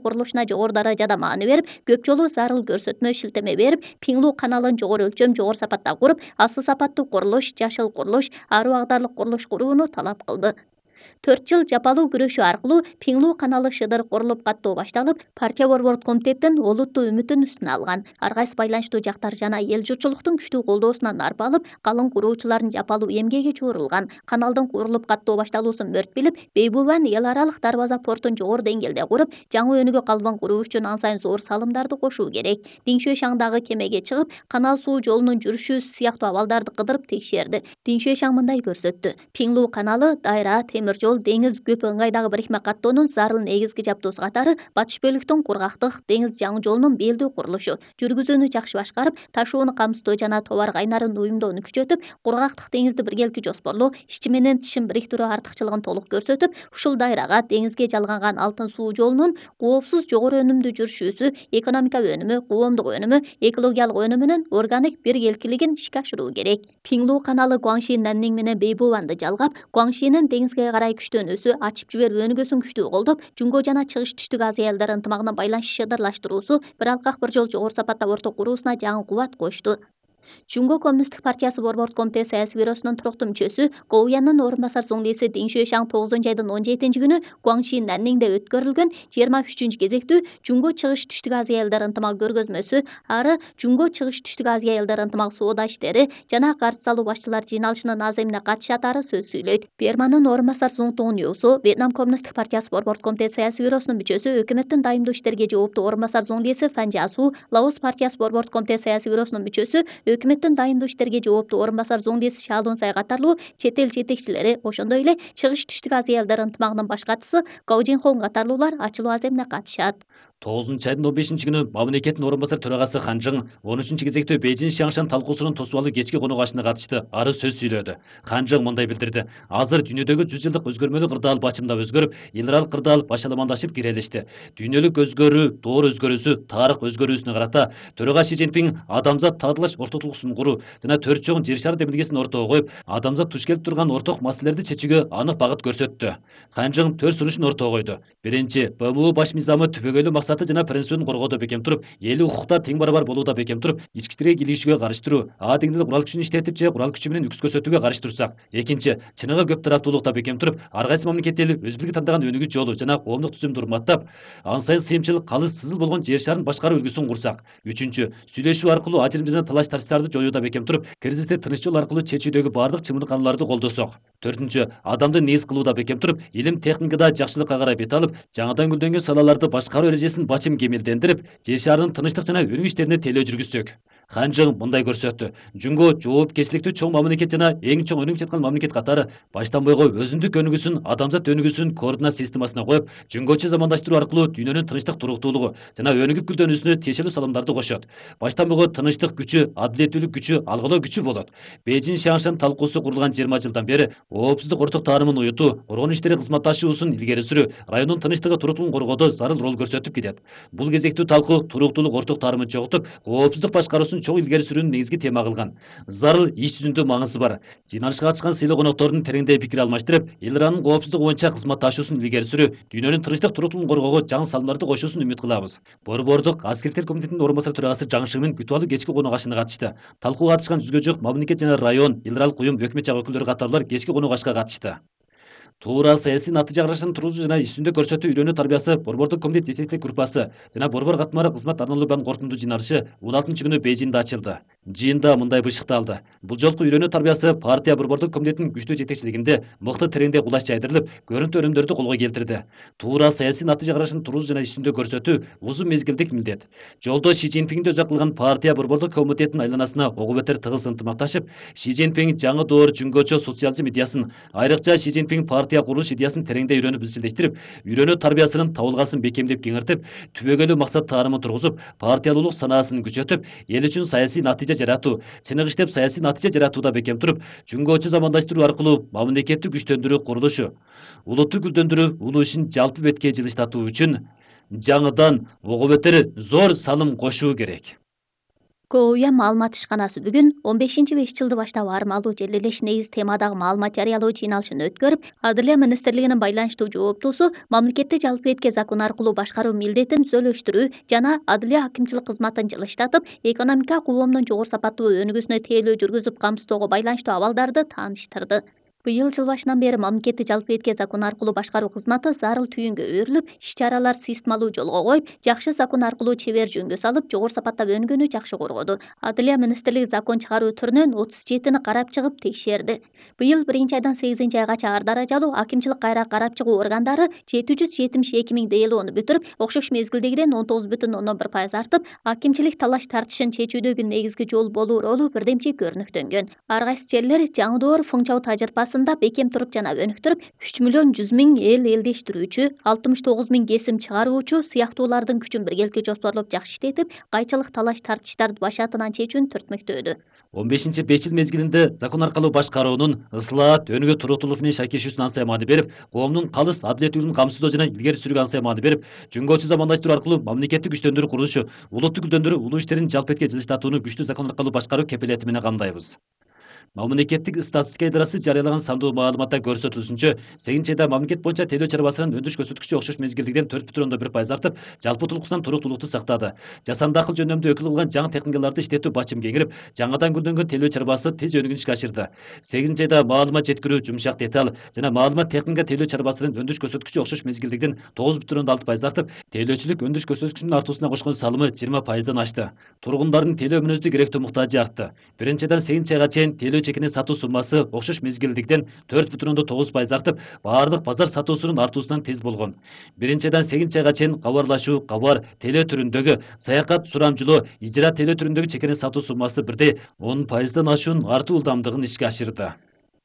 курулушуна жогору даражада маани берип, көп жолу зарыл көрсөтмө шилтеме берип, Пиңлүү каналын жогору өлчөм, жогору сапатта куруп, асыл сапаттуу курулуш, жашыл курулуш, ары багдарлык курулуш курууну талап кылды. 4 жыл жапалуу күрөшүү аркылуу Пиңлүү каналы шыдыр курулуп каттоо башталып, партия борбордук комитеттин олуттуу үмүтүн үстүнө алган. Ар кайсы байланыштуу жактар жана эл журтчулуктун күчтүү колдоосунан арба алып, калың куруучулардын жапалуу эмгеги чууурулган. Каналдын курулуп каттоо башталуусун мөрт билип, Бейбулван эл аралык дарбаза портун жогору деңгээлде куруп, жаңы өнүгө калыбын куруу үчүн ан сайын зор салымдарды кошуу керек. Диңшуй шаңдагы кемеге чыгып, канал суу жолунун жүрүшү сыяктуу абалдарды кыдырып текшерди. Диңшуй шаң мындай көрсөттү: Пиңлүү каналы дайра, темир жол, деңиз, көп ыңгайдагы бирикме каттоонун зарыл негизги жабдуусу катары батыш бөлүктүн кургактык деңиз жаңы жолунун белдүү курулушу, жүргүзүүнү жакшы башкарып, ташууну камсыздоо жана товар кайнарын уюмдоону күчөтүп, кургактык деңизди биргеликти жоспорлоо, ичи менен тышын бириктирүү артыкчылыгын толук көрсөтүп, ушул дайрага деңизге жалганган алтын суу жолунун коопсуз жогору өнүмдүү жүрүшүүсү, экономикалык өнүмү, коомдук өнүмү, экологиялык өнүмүнүн органик биргеликилигин ишке ашыруу керек. Пиңлүү каналы Гуаңши, Наннин менен Бейбулванды жалгап, Гуаңшинин деңизге карай күчтөнүүсү, ачып жиберип өнүгүүсүн күчтүү колдоп, Жумго жана Чыгыш Түштүк Азия элдер ынтымагынын байланышы шыдырлаштыруусу, бир алкак бир жол жогору сапатта порто куруусуна жаңы кубат кошту. Жумго Коммунисттик партиясы борбордук комитет саясий бюросунун туруктуу мүчөсү, Гоуянын орун басар соңдейси Диңшуй шаң 9-айдын 17-күнү Гуаңши, Наннинде өткөрүлгөн 23-үчү кезектүү Жумго Чыгыш Түштүк Азия элдер ынтымагы көргөзмөсү, ары Жумго Чыгыш Түштүк Азия элдер ынтымагы соода иштери жана каржы салуу башчылар жыйналышынын аземине катышатары сөз сүйлөйт. Берманын орун басар Суңтуң Юсу, Вьетнам Коммунисттик партиясы борбордук комитет саясий бюросунун мүчөсү, өкмөттүн дайымдуу иштерге жооптуу орун басар Зоңдеси Фанжасу, Лаос партиясы борбордук комитет саясий бюросунун мүчөсү, өкмөттүн дайымдуу иштерге жооптуу орун басар Зоңдеси Шаалунсай катарлуу чет эл жетекчилери, ошондой эле Чыгыш Түштүк Азия элдер ынтымагынын баш катчысы Гау Жинхон катарлуулар ачылуу аземине катышат. 9-айдын 15-күнү мамлекеттин орун басар төрагасы Хан Жың 13-чү кезектүү Бейжин Шаңшан талкуусунун тосуп кечки конок ашына катышты. Ары сөз сүйлөдү. Хан Жың мындай билдирди: азыр дүйнөдөгү 100 жылдык өзгөрмөлүү кырдаал бачымдап өзгөрүп, эл аралык кырдаал башаламандашып кирелешти. Дүйнөлүк өзгөрүү, доор өзгөрүүсү, тарых өзгөрүүсүнө карата төрага Си Цзиньпин адамзат таадылаш ортодулуксун куруу жана төрт чоң жер шары демилгесин ортого коюп, адамзат туш келип турган орток маселелерди чечүүгө анык багыт көрсөттү. Хан Жың 4 сунушун ортого койду. Биринчи, БМУ баш мыйзамы түбөгөйлүү максаты жана принцибин коргоодо бекем туруп, эл укукта тең барабар болууда бекем туруп, ички искиге кийлигишүүгө каршы туруу, деңдил курал күчүн иштетип же курал күчү менен үкс көрсөтүүгө каршы турсак. Экинчи, чыныгы көп тараптуулукта бекем туруп, ар кайсы мамлекет эл өз бирге тандаган өнүгүү жолу жана коомдук түзүмдү урматтап, ан сайын сыйымчыл, калыс, сызыл болгон жер шарын башкаруу үлгүсүн курсак. Үчүнчү, сүйлөшүү аркылуу ажырым жана талаш тартыштарды жоюуда бекем туруп, кризисти тыныч жол аркылуу чечүүдөгү баардык чымырканаларды колдосок. Төртүнчү, адамды негиз кылууда бекем туруп, илим техникада жакшылыкка карай бет алып, жаңыдан гүлдөнгөн салаларды башкаруу эрежесин бачым кемелдендирип, жер шарынын тынчтык жана өнүгүү иштерине тейлөө жүргүзсөк. Хан Жың мындай көрсөттү: Жумго жоопкерчиликтүү чоң мамлекет жана эң чоң өнүгүп жаткан мамлекет катары баштан бойго өзүндүк өнүгүүсүн, адамзат өнүгүүсүн координат системасына коюп, жөнгөчө замандаштыруу аркылуу дүйнөнүн тынчтык, туруктуулугу жана өнүгүп гүлдөнүүсүнө тиешелүү салымдарды кошот. Баштан бойго тынчтык күчү, адилеттүүлүк күчү, алгылоо күчү болот. Бейжин Шаңшан талкуусу курулган 20 жылдан бери коопсуздук орток таанымын уютуу, коргонуу иштери кызматташуусун илгери сүрүү, райондун тынчтыгы, туруктуулугун коргоодо зарыл роль көрсөтүп келет. Бул кезектүү талкуу туруктуулук, орток таарымын чогултуп, коопсуздук башкаруусун чоң илгери сүрүүнүн негизги тема кылган. Зарыл иш жүзүндө маңызы бар. Жыйналышка катышкан сыйлуу коноктордун тереңдей пикир алмаштырып, эл аранын коопсуздугу боюнча кызматташуусун илгери сүрүү, дүйнөнүн тынчтык, туруктуулугун коргоого жаңы салымдарды кошуусун үмүт кылабыз. Борбордук аскерлер комитетинин орун басар төрагасы Жаң Шыңмин күтүп алуу кечки конок ашына катышты. Талкууга катышкан 100гө жук мамлекет жана район, эл аралык уюм, өкмөт жак өкүлдөрү катарлуулар кечки конок ашка катышты. Туура саясий натыйжа карашын туруусу жана иш жүзүндө көрсөтүү үйрөнүү тарбиясы борбордук комитет жетекчилик группасы жана борбор катмары кызмат арналуу бан корутундуу жыйналышы 16-күнү Бейжиңде ачылды. Жыйында мындай бышыкталды: бул жолку үйрөнүү тарбиясы партия борбордук комитетинин күчтүү жетекчилигинде мыкты тереңдей кулач жайдырылып, көрүнтү өнүмдөрдү колго келтирди. Туура саясий натыйжа карашын туруусу жана иш жүзүндө көрсөтүү узун мезгилдик милдет. Жолдо Си Цзиньпинди өзөк кылган партия борбордук комитетинин айланасына ого бетер тыгыз ынтымакташып, Си Цзиньпин жаңы доор жөнгөчө социализм идеясын, айрыкча Си Цзиньпин партия курулуш идеясын тереңдей үйрөнүп изчилдештирип, үйрөнүү тарбиясынын табылгасын бекемдеп кеңиртип, түбөгөйлүү максат таарымын тургузуп, партиялуулук санаасын күчөтүп, эл үчүн саясий натыйжа жаратуу, чыныгы иштеп саясий натыйжа жаратууда бекем туруп, жөнгөчө замандаштыруу аркылуу мамлекетти күчтөндүрүү курулушу, улутту гүлдөндүрүү улуу ишин жалпы бетке жылыштатуу үчүн жаңыдан ого бетер зор салым кошуу керек. КОУЯ маалымат ишканасы бүгүн 15-5 баштап армалуу жерлелеш негиз темадагы маалымат жарыялоо жыйналышын өткөрүп, Адылия министрлигинин байланыштуу жооптуусу мамлекетти жалпы этке закон аркылуу башкаруу милдетин түзөлүштүрүү жана адылия акимчилик кызматын жылыштатып, экономика коомдун жогору сапаттуу өнүгүүсүнө тейлөө жүргүзүп камсыздоого байланыштуу абалдарды тааныштырды. Быйыл жыл башынан бери мамлекетти жалпы этке закон аркылуу башкаруу кызматы зарыл түйүнгө өөрүлүп, иш-чаралар системалуу жолго коюп, жакшы закон аркылуу чебер жөнгө салып, жогору сапаттап өнүгүүнү жакшы коргоду. Адылия министрлиги закон чыгаруу түрүнөн 37-ни карап чыгып текшерди. Быйыл 1-айдан 8-айгача ар даражалуу акимчилик кайра карап чыгуу органдары 772 миң делоону бүтүрүп, окшош мезгилдегиден 19,1% артып, акимчилик талаш тартышын чечүүдөгү негизги жол болуу ролу бирдемчи көрүнүктөнгөн. Ар кайсы жерлер жаңы функчиялуу тажрыйбасы бекем туруп жана өнүктүрүп, 3 миллион 100 миң эл элдештирүүчү, 69 миң кесим чыгаруучу сыяктуулардын күчүн биргеликте жоспорлоп жакшы иштетип, кайчылык талаш тартыштарды башатынан чечүүнү түртмөктөөдү. 15-5 жыл мезгилинде закон аркылуу башкаруунун ыслаат, өнүгүү туруктуулук менен шакешүүсүнө ансай маани берип, коомдун калыс адилеттүүлүгүн камсыздоо жана илгери сүрүүгө ансай маани берип, жөнгөчү замандаштыруу аркылуу мамлекеттик күчтөндүрүү курулушу, улуттук гүлдөндүрүү улуу иштерин жалпы этке жылыштатууну күчтүү закон аркылуу башкаруу кепилети менен камдайбыз. Мамлекеттик статистика идарасы жарыялаган сандуу маалыматта көрсөтүлүшүнчө, 8-айда мамлекет боюнча тейлөө чарбасынын өндүрүш көрсөткүчү окшош мезгилдегиден 4,1% артып, жалпы утулуктан туруктуулукту сактады. Жасанды акыл жөндөмдү өкүл кылган жаңы технологияларды иштетүү бачым кеңирип, жаңадан гүлдөнгөн тейлөө чарбасы тез өнүгүүнү ишке ашырды. 8-айда маалымат жеткирүү, жумшак деталь жана маалымат техника тейлөө чарбасынын өндүрүш көрсөткүчү окшош мезгилдегиден 9,6% артып, тейлөөчүлүк өндүрүш көрсөткүчүнүн артуусуна кошкон салымы 20%дан ашты. Тургундардын тейлөө мүнөздүү керектүү муктажы артты. 1-айдан 8-айга чейин тейлөө чекини сатуу суммасы окшош мезгилдигиден 4,9% артып, баардык базар сатуусунун артуусунан тез болгон. 1-айдан 8-айга чейин кабарлашуу, кабар, тейлөө түрүндөгү, саякат, сурамжылоо, ижра тейлөө түрүндөгү чекини сатуу суммасы бирдей 10%дан ашуун артуу ылдамдыгын ишке ашырды.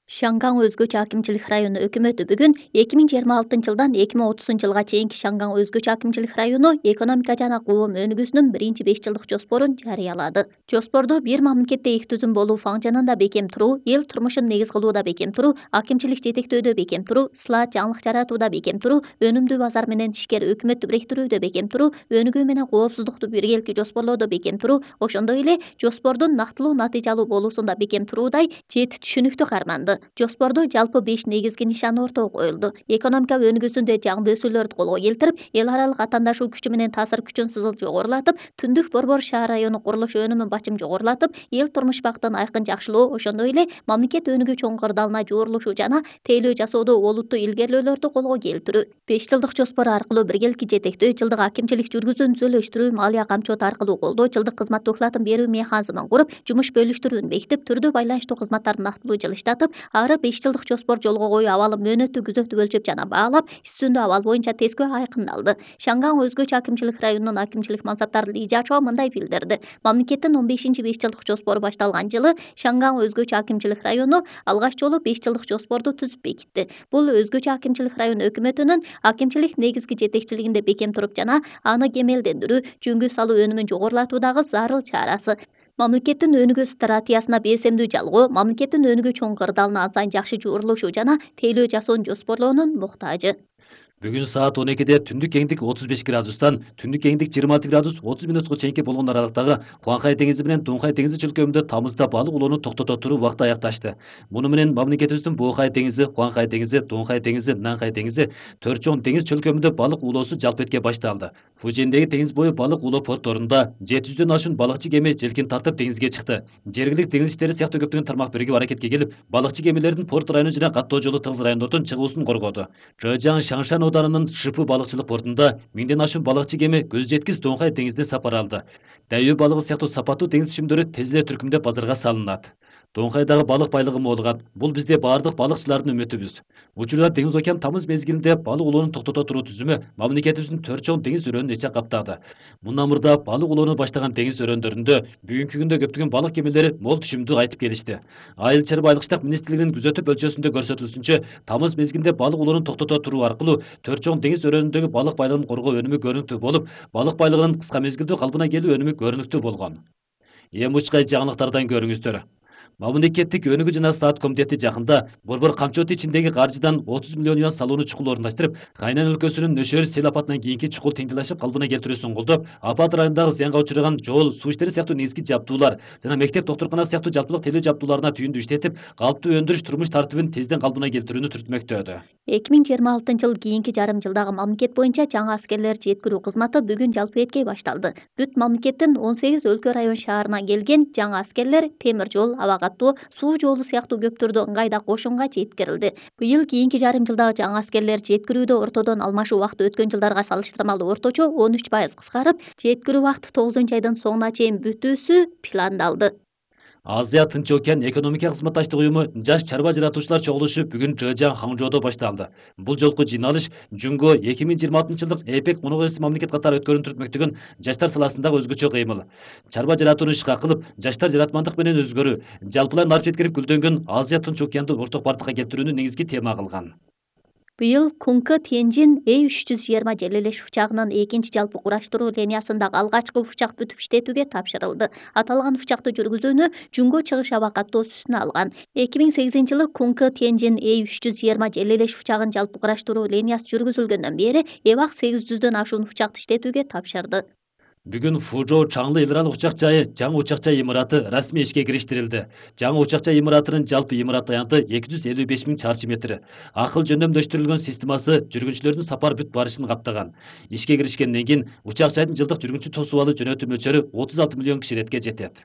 Шанган өзгөчө акимчилик району өкмөтү бүгүн 2026-жылдан 2030-жылга чейинки Шанган өзгөчө акимчилик району экономика жана коом өнүгүүсүнүн 1-5 жылдык жоспорун жарыялады. Жоспордо бир мамлекетте их түзүм болуу фаңжанында бекем туруу, эл турмушун негиз кылууда бекем туруу, акимчилик жетектөөдө бекем туруу, ысылаат жаңылык жаратууда бекем туруу, өнүмдүү базар менен ишкер өкмөттү бириктирүүдө бекем туруу, өнүгүү менен коопсуздукту биргеликти жоспорлоодо бекем туруу, ошондой эле жоспордун нактылуу натыйжалуу болуусунда бекем туруудай 7 түшүнүктү карманды. Жоспордо жалпы 5 негизги нишан ортого коюлду. Экономика өнүгүүсүндө жаңы өсүүлөрдү колго келтирип, эл аралык аттандашуу күчү менен таасир күчүн сызыл жогорулатып, Түндүк Борбор шаар району курулуш өнүмүн бачым жогорулатып, эл турмуш бактын айкын жакшылоо, ошондой эле мамлекет өнүгүү чоң кырдаалына жуурулушу жана тейлөө жасоодо олуттуу илгерилөөлөрдү колго келтирүү. 5 жылдык жоспор аркылуу биргеликти жетектөө, жылдык акимчилик жүргүзүүнү түзөлөштүрүү, малия камчоот аркылуу колдоо, жылдык кызмат оклатын берүү механизмин куруп, жумуш бөлүштүрүүнү бекитип, түрдүү байланыштуу кызматтарды нактылуу жылыштатып, ары 5 жылдык жоспор жолго коюу абалы мөөнөттү күзөтүп өлчөп жана баалап, иш жүзүндө абал боюнча тескөө айкындалды. Шанган өзгөчө акимчилик районунун акимчилик мансаптары Ли Жачоо мындай билдирди. Мамлекеттин 15-5 жылдык жоспору башталган жылы Шанган өзгөчө акимчилик району алгач жолу 5 жылдык жоспорду түзүп бекитти. Бул өзгөчө акимчилик район өкмөтүнүн акимчилик негизги жетекчилигинде бекем туруп жана аны кемелдендирүү, жөнгө салуу өнүмүн жогорулатуудагы зарыл чарасы. Мамлекеттин өнүгүү стратегиясына бесемдүү жалгоо, мамлекеттин өнүгүү чоң кырдаалына азайын жакшы жуурулушу жана тейлөө жасоону жоспорлоонун муктажы. Бүгүн саат 12-де түндүк кеңдик 35 градустан, түндүк кеңдик 26 градус 30 минутка чейинки болгон аралыктагы Куанхай деңизи менен Дунхай деңизи чөлкөмүндө тамызда балык улоону токтото туруу убакыты аякташты. Муну менен мамлекетибиздин Боохай деңизи, Куанхай деңизи, Дунхай деңизи, Нанхай деңизи, Төрт чоң деңиз чөлкөмүндө балык улоосу жалпы этке башталды. Фужиндеги теңиз бою балык улоо портторунда 700дөн ашуун балыкчы кеме желкен тартып деңизге чыкты. Жергиликтүү деңиз иштери сыяктуу көптөгөн тармак биригип аракетке келип, балыкчы кемелердин порт району жана каттоо жолу тыгыз райондордон чыгуусун коргоду. Чжэжьян Шаңшан ауданынын Шипы балыкчылык портунда 1000ден ашуун балыкчы кеме көз жеткис Дунхай деңизине сапар алды. Дайөө балыгы сыяктуу сапаттуу деңиз түшүмдөрү тез эле түркүмдөп базарга салынат. Дунхайдагы балык байлыгы молугат. Бул бизде баардык балыкчылардын үмүтүбүз. Учурда Деңиз океан тамыз мезгилинде балык улоону токтото туруу түзүмү мамлекетибиздин Төрт чоң деңиз өрөөнүн эче каптады. Мындан мурда балык улоону баштаган деңиз өрөөндөрүндө бүгүнкү күндө көптөгөн балык кемелери мол түшүмдү кайтып келишти. Айыл чарба айылчылык министрлигинин күзөтүп өлчөсүндө көрсөтүлүшүнчө, тамыз мезгилинде балык улоону токтото туруу аркылуу Төрт чоң деңиз өрөөнүндөгү балык байлыгын коргоо өнүмү көрүнүктүү болуп, балык байлыгынын кыска мезгилдүү калыбына келүү өнүмү көрүнүктүү болгон. Эми учкай жаңылыктардан көрүңүздөр. Мамлекеттик өнүгүү жана саат комитети жакында Борбор камчы ичиндеги каржыдан 30 миллион юан салууну чукул орундаштырып, Кайнан өлкөсүнүн Нөшөр сел апатынан кийинки чукул теңделешип калыбына келтирүүсүн колдоп, апат районундагы зыянга учураган жол, суу иштери сыяктуу негизги жабдуулар жана мектеп, доктуркана сыяктуу жалпылык телөө жабдууларына түйүндү иштетип, калыптуу өндүрүш турмуш тартибин тезден калыбына келтирүүнү түртмөктөдү. 2026 кийинки жарым жылдагы мамлекет боюнча жаңы аскерлер жеткирүү кызматы бүгүн жалпы эткей башталды. Бүт мамлекеттин 18 өлкө район шаарынан келген жаңы аскерлер темир жол, аба каттоо, суу жолу сыяктуу көптөрдү ыңгайда кошунга жеткирилди. Быйыл кийинки жарым жылдагы жаңы аскерлер жеткирүүдө ортодон алмашуу убакыты өткөн жылдарга салыштырмалуу орточо 13% кыскарып, жеткирүү убакыты 9-айдын соңуна чейин бүтүүсү пландалды. Азия Тынч океан экономика кызматташтык уюму жаш чарба жаратуучулар чогулушу бүгүн Жыжаң Хаңжоодо башталды. Бул жолку жыйналыш Жунго 2026-жылдык ЭПЕК мунугуэси мамлекет катары өткөрүүнү түртмөктөгөн жаштар саласындагы өзгөчө кыймыл. Чарба жаратууну ишка кылып, жаштар жаратмандык менен өзгөрүү, жалпылай нарып жеткирип гүлдөнгөн Азия Тынч океанды орток бардыкка келтирүүнү негизги тема кылган. Быйыл Кункы Тенжин A320 желелеш учагынын экинчи жалпы кураштыруу линиясындагы алгачкы учак бүтүп иштетүүгө тапшырылды. Аталган учакты жүргүзүүнү Жунго чыгыш аба каттоо үстүнө алган. 2008-жылы Кункы Тенжин A320 желелеш учагын жалпы кураштыруу линиясы жүргүзүлгөндөн бери эбак 800дөн ашуун учакты иштетүүгө тапшырды. Бүгүн Фужоу чаңлы эл аралык учак жайы жаңы учак жай имараты расмий ишке кириштирилди. Жаңы учак жай имаратынын жалпы имарат аянты 255 000 чарчы метр. Акыл жөндөмдөштүрүлгөн системасы жүргүнчүлөрдүн сапар бүт барышын каптаган. Ишке киришкенден кийин учак жайдын жылдык жүргүнчү тосуп алуу жөнөтүү мөлчөрү 36 миллион киширетке жетет.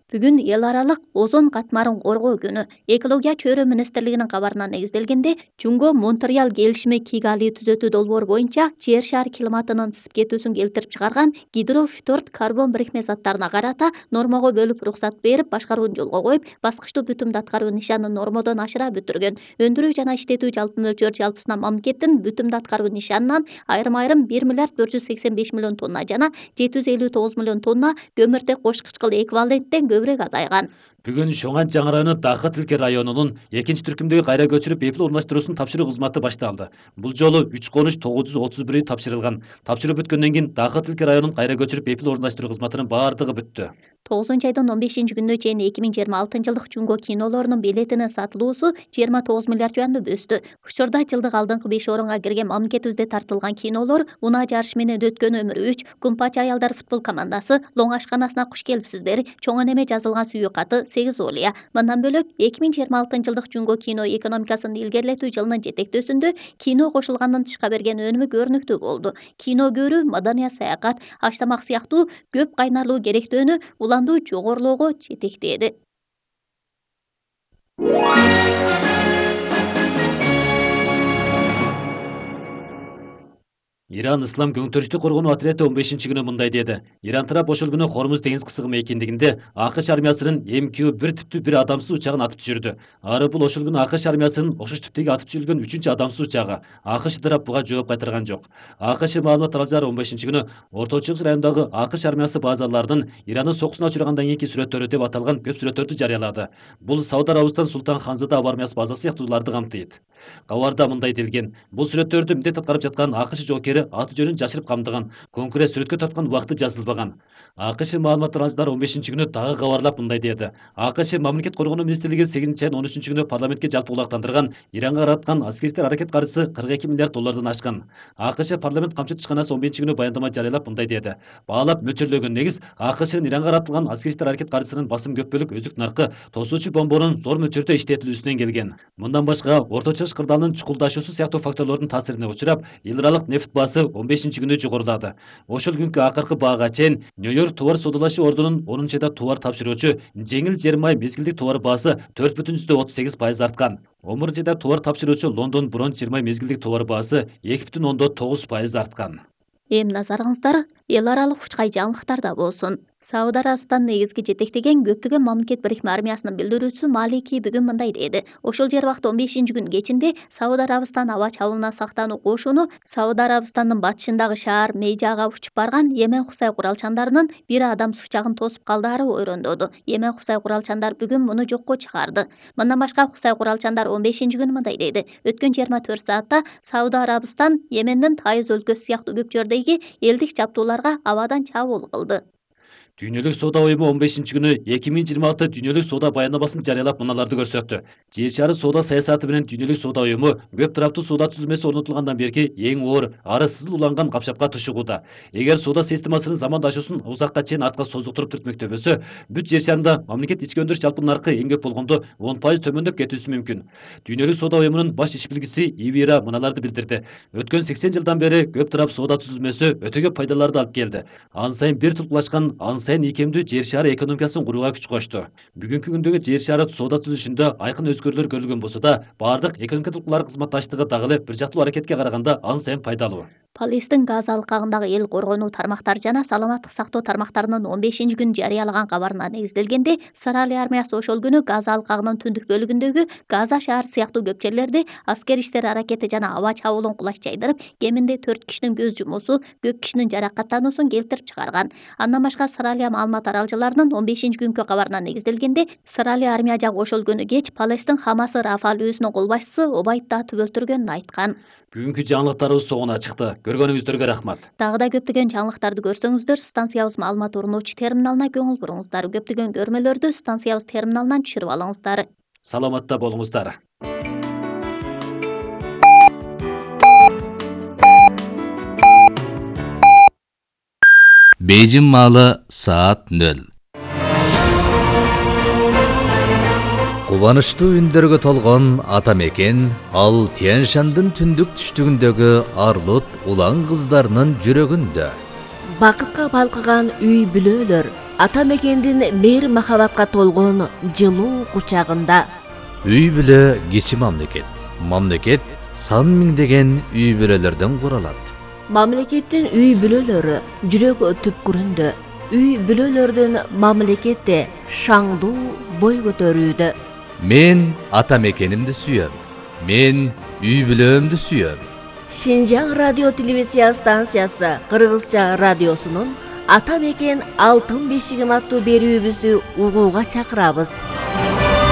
Бүгүн эл аралык озон катмарын коргоо күнү. Экология чөйрө министрлигинин кабарына негизделгенде, Жунго Монтреаль келишими Кигали түзөтүү долбоору боюнча жер шары климатынын ысып кетүүсүн келтирип чыгарган гидрофторд карбон бирикме заттарына карата нормого бөлүп уруксат берип, башкарууну жолго коюп, баскычтуу бүтүмдү аткаруу нишанын нормодон ашыра бүтүргөн. Өндүрүү жана иштетүү жалпы мөлчөр жалпысынан мамлекеттин бүтүмдү аткаруу нишанынан айрым-айрым 1 миллиард 485 миллион тонна жана 759 миллион тонна көмүртек кош кычкыл эквиваленттен көбүрөөк азайган. Бүгүн Шоңан жаңы району Дахы Тилке районунун экинчи түркүмдөгү кайра көчүрүп бепил орундаштыруусун тапшыруу кызматы башталды. Бул жолу 3 конуш 931 үй тапшырылган. Тапшыруу бүткөндөн кийин Дахы Тилке районун кайра көчүрүп бепил орундаштыруу кызматынын баардыгы бүттү. 9-айдын 15-күнүнө чейин 2026-жылдык Жунго кинолорунун билетинин сатылуусу 29 миллиард юанды өстү. Учурда жылдык алдыңкы 5 орунга кирген мамлекетибизде тартылган кинолор Унаа жарышы менен өткөн өмүр 3, Кумпачы аялдар футбол командасы, Лоң ашканасына куш келипсиздер, Чоң энеме жазылган сүйүү каты, 8 олия. Мындан бөлөк 2026-жылдык Жунго кино экономикасын илгерилетүү жылынын жетектөөсүндө кино кошулганын тышка берген өнүмү көрүнүктүү болду. Кино көрүү, маданият, саякат, аш-тамак сыяктуу көп кайнарлуу керектөөнү уландуу жогорулоого жетектеди. Иран ислам көңтөрүштү коргонуу отряды 15-күнү мындай деди. Иран тарап ошол күнү Хормуз деңиз кысыгы мейкиндигинде AQSh армиясынын MQ-1 типтүү бир адамсыз учагын атып түшүрдү. Ары бул ошол күнү AQSh армиясынын ошол типтеги атып түшүрүлгөн 3-үncү адамсыз учагы. AQSh тарап буга жооп кайтарган жок. AQSh маалымат аралжары 15-күнү Орто Чыгыш районундагы AQSh армиясы базаларынын Ирандын сокусуна учурагандан кийинки сүрөттөрү деп аталган көп сүрөттөрдү жарыялады. Бул Сауд Арабистан Султан Ханзада аба армиясы базасы сыяктууларды камтыйт. Кабарда мындай делген: бул сүрөттөрдү милдет аткарып жаткан AQSh жоокери аты жөнүн жашырып камдыган, конкурент сүрөткө тарткан убакыты жазылбаган. AQSh маалымат аралжары 15-күнү дагы кабарлап мындай деди. AQSh мамлекет коргонуу министрлиги 8-айдын 13-күнү парламентке жалпы кулактандырган Иранга караткан аскердер аракет каржысы 42 миллиард доллардан ашкан. AQSh парламент камчы ишканасы 15-күнү баяндама жарыялап мындай деди. Баалап мөлчөрлөгөн негиз AQShнын Иранга каратылган аскердер аракет каржысынын басым көп бөлүк өздүк наркы тосуучу бомбонун зор мөлчөрдө иштетилүүсүнөн келген. Мындан башка Орто Чыгыш кырдаалынын чукулдашуусу сыяктуу факторлордун таасирине учурап, эл аралык нефть баасы 15-күнү жогорулады. Ошол күнкү акыркы баага чейин Нью-Йорк товар саудалашуу ордунун 10-айда товар тапшыруучу жеңил жер май мезгилдик товар баасы 4,38% арткан. Омуржайда товар тапшыруучу Лондон бронз жер май мезгилдик товар баасы 2,9% арткан. Эми назарыңыздар эл аралык учкай жаңылыктарда болсун. Сауд Арабистан негизги жетектеген көптөгөн мамлекет бирикме армиясынын билдирүүчүсү Малики бүгүн мындай деди. Ошол жер убакта 15-күн кечинде Сауд Арабистан аба чабуулуна сактануу кошуну Сауд Арабистандын батышындагы шаар Мейжага учуп барган Йемен Хусай куралчандарынын бир адамсыз учагын тосуп калдаары ойрондоду. Йемен Хусай куралчандар бүгүн муну жокко чыгарды. Мындан башка Хусай куралчандар 15-күнү мындай деди. Өткөн 24 саатта Сауд Арабистан Йемендин Тайыз өлкөсү сыяктуу көп жөрдөгү элдик жабдууларга абадан чабуул кылды. Дүйнөлүк соода уюму 15-күнү 2026 дүйнөлүк соода баяндамасын жарыялап мыналарды көрсөттү. Жер шары соода саясаты менен дүйнөлүк соода уюму көп тараптуу соода түзүлмөсү орнотулгандан берки эң оор, ары сызыл уланган капчапка тушугууда. Эгер соода системасынын замандашуусун узакка чейин артка создуктуруп түртмөктөбөсө, бүт жер шарында мамлекет ички өндүрүш жалпы наркы эң көп болгондо 10% төмөндөп кетүүсү мүмкүн. Дүйнөлүк соода уюмунун баш ишбилгиси Ивира мыналарды билдирди. Өткөн 80 жылдан бери көп тарап соода түзүлмөсү өтө көп пайдаларды алып келди. Ан сайын бир тулкулашкан, ан сайын ийкемдүү жер шары экономикасын курууга күч кошту. Бүгүнкү күндөгү жер шары соода түзүшүндө айкын өзгөрүүлөр көрүлгөн болсо да, баардык экономика тулкулар кызматташтыгы дагы эле бир жактуу аракетке караганда ан сайын пайдалуу. Палестин Газа алкагындагы эл коргонуу тармактары жана саламаттык сактоо тармактарынын 15-күнү жарыялаган кабарына негизделгенде, Израиль армиясы ошол күнү Газа алкагынын түндүк бөлүгүндөгү Газа шаар сыяктуу көп жерлерде аскер иштери аракети жана аба чабуулун кулаш жайдырып, кеминде 4 кишинин көз жумуусу, көп кишинин жаракаттануусун келтирип чыгарган. Андан башка Израиль маалымат аралжаларынын 15-күнкү кабарына негизделгенде, Израиль армия жагы ошол күнү кеч Палестин Хамасы Рафа өлкөсүнүн кол башчысы Обайд Таатып өлтүргөнүн айткан. Бүгүнкү жаңылыктарыбыз соңуна чыкты. Көргөнүңүздөргө рахмат. Дагы да көптөгөн жаңылыктарды көрсөңүздөр, станциябыз маалымат орнотуучу терминалына көңүл буруңуздар. Көптөгөн көрмөлөрдү станциябыз терминалынан түшүрүп алыңыздар. Саламатта болуңуздар. Бейжин маалы саат 0. Кубанычтуу үндөргө толгон ата мекен ал Тянь-Шандын түндүк түштүгүндөгү арлут улан кыздарынын жүрөгүндө. Бакытка балкыган үй бүлөлөр ата мекендин мейир махабатка толгон жылуу кучагында. Үй бүлө кичи мамлекет. Мамлекет сан миңдеген үй бүлөлөрдөн куралат. Мамлекеттин үй бүлөлөрү жүрөк түпкүрүндө. Үй бүлөлөрдүн мамлекетте шаңдуу бой көтөрүүдө. Мен ата мекенимди сүйөм. Мен үй бүлөмдү сүйөм. Шинжаң радио телевизия станциясы Кыргызча радиосунун Ата мекен алтын бешигим аттуу берүүбүздү угууга чакырабыз.